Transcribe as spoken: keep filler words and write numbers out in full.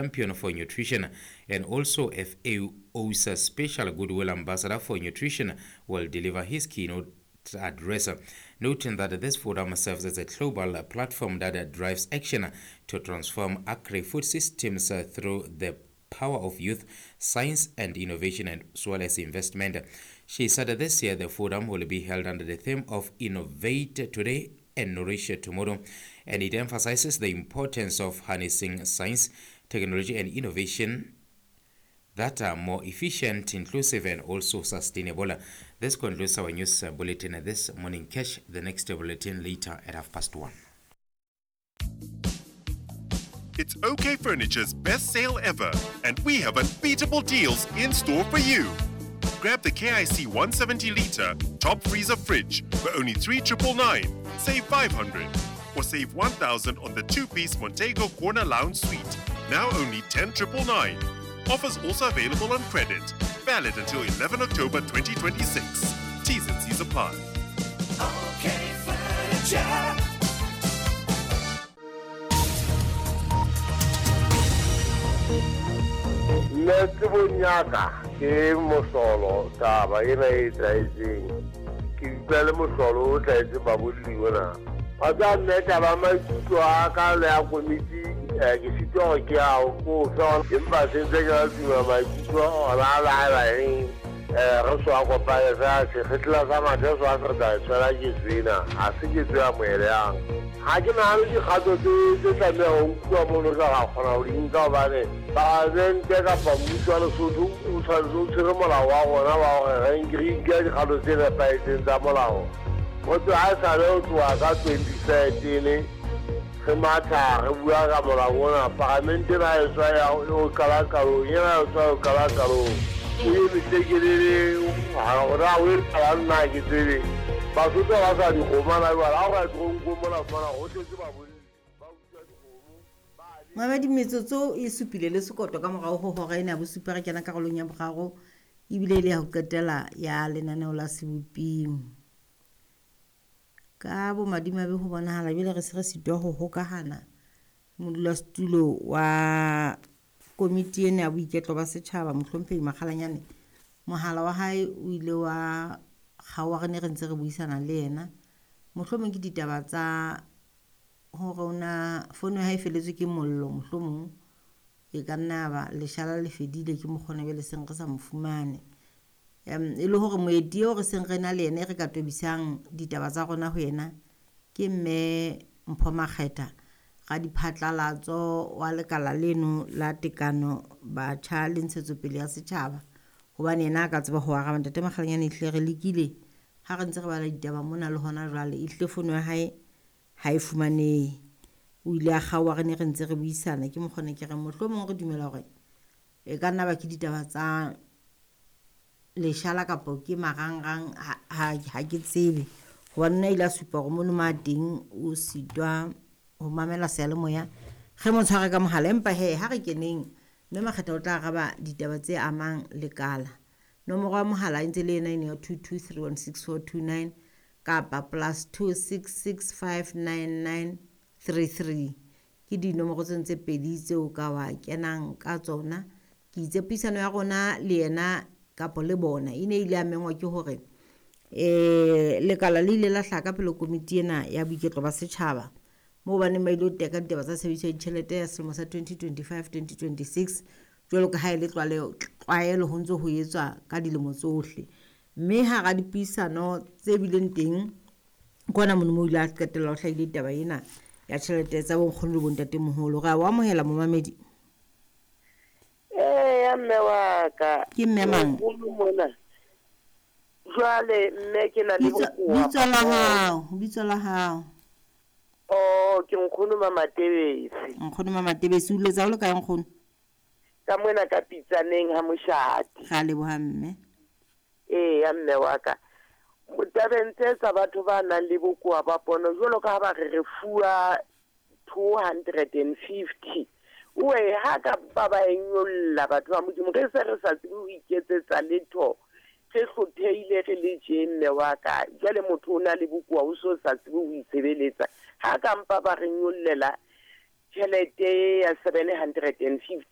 Champion for Nutrition and also F A O's Special Goodwill Ambassador for Nutrition, will deliver his keynote address, noting that this forum serves as a global platform that drives action to transform agri-food systems through the power of youth, science and innovation, and as well as investment. She said that this year the forum will be held under the theme of Innovate Today and Nourish Tomorrow, and it emphasizes the importance of harnessing science, technology and innovation that are more efficient, inclusive and also sustainable. This concludes our news bulletin this morning. Catch the next bulletin later at half past one. It's OK Furniture's best sale ever, and we have unbeatable deals in store for you. Grab the K I C one seventy litre top freezer fridge for only three triple nine, save five hundred, or save one thousand on the two-piece Montego Corner Lounge Suite, now only ten triple nine. Offers also available on credit. Valid until eleven October twenty twenty-six. T's and C's apply. OK Furniture. Nna tsebong ya ka ke mohlolo taba ena e tlwaetseng. Ke utlwa le mohlolo o tlwaetseng babolli ona. Wa tseba nna taba maikutlo a ka le ya komiti, eh, ke sitwa hore ke ao ko fe, empa se ntse ke tuma maikutlo ona a la ba eng, eh, re so a kopane fela sekgetla sa mathe so a se re tla tshwela ke tsena, ha se ke tswe amohelehang. Ha ke nahane dikgato tse tse tlamehang ho nkuwa mono re ka kgona ho di nka hobane palamente kapa mmuso wa Lesotho o tshwanetse o tshwere molao wa rona wa hore re nke re nke dikgato tse nepahetseng tsa molao. Motho ha e sale ho tloha ka twenty thirteen re matha re bua ka molao ona, palamente ena e tswa ya ho qala qalong, ena e tswa ho qala qalong. O eme tlekelele, ha hore ha o e qala nna ha ke tsebe. Basotho ba sa dikgomo hana jwale, ha o ka toronkong mona fumana ho tletse babolli, ba utswa dikgomo, ba Mamedi, metsotso e supile le sekoto ka morao ho hora ena ya bosupa re kena karolong ya boraro ebile e le ya ho qetela ya lenaneo la Seboping. Ka bomadimabe ho bonahala jwale re se re sitwa ho hokahana modulasetulo wa komiti ena ya boiketlo ba setjhaba Mohlomphehi Makgalanyane. Mohala wa hae o ile wa kgaoha re ne re ntse re buisana le yena. Mohlomong ke ditaba tsa hore o na fono ya hae e feletswe ke mollo, mohlomong e ka nna ya ba leshala le fedile ke mokgona jwale seng re sa mo fumane. Em, e le hore moeti eo re seng re na le yena e re ka tobisang ditaba tsa rona ho yena ke mme Mpho Makgetha, radiphatlalatso wa lekala leno la tekano batjha le ntshetsopele ya setjhaba, hobane yena a ka tseba ho araba. Ntate Makgalanyane, ehlile re lekile ha re ntse re bala ditaba mona le hona jwale, ehlile fono ya hae ha e fumanehe. O ile a kgaoha re ne re ntse re buisana. Ke mokgona ke re mohlomong re dumela hore e ka nna ba ke ditaba tsa leshala kapo ke marangrang, ha, ha, ha ke tsebe, hobane nna ile a supa hore mono ma teng o sitwa ho mamela seyalemoya. Re mo tshware ka mohala, empa he ha re keneng mme Makgetha o tla araba ditaba tse amang lekala. Nomoro ya mohala e ntse le ena eno ya two two three one six four two nine kapa plus two six six five nine nine three three. Ke dinomoro tseno tse pedi tseo ka wa kenang ka tsona. Ke itse puisano ya rona le yena kapo le bona e ne ile ya mengwa ke hore, eh, lekala le ile la hlaha ka pele komiti ena ya boiketlo ba setjhaba moo ba neng ba ile ho teka ditaba tsa tshebediso ya ditjhelete ya selemo sa twenty twenty-five twenty twenty-six jwalo ka ha e le tlwaleho, tlwaelo ho ntse ho etswa ka dilemo tsohle. Mme hara dipuisano tse bileng teng kwana mono moo ile a qetella ho hlahile taba ena ya tjhelete tsa bonkgono le bontatemoholo. Re a o amohela momamedi. Ee, ya mme wa ka. Ke mme mang? Nkgono mona. Jwale mme ke na le Bitso, bokowa bitso la ba hao, bitso la hao. Oh, ke nkgono Mamatebesi. Nkgono Mamatebesi, o letsa o le kae nkgono? Ka mona ka Pitsaneng ha Moshate. Ra leboha mme. Ee, ya mme wa ka. Tabeng tse tsa batho ba nang le bokowa ba pono, jwalo ka ha ba re re fuwa two hundred and fifty. Oe, ha ka ba ba e nyolla batho ba Modimo, re se re sa tsebe ho iketsetsa letho. Re hlophehile re le tje mme wa ka. Jwale motho o na le bokowa o so sa tsebe ho itshebeletsa. Ha ka mpa ba re nyollela Tjhelete ya seven hundred and fifty.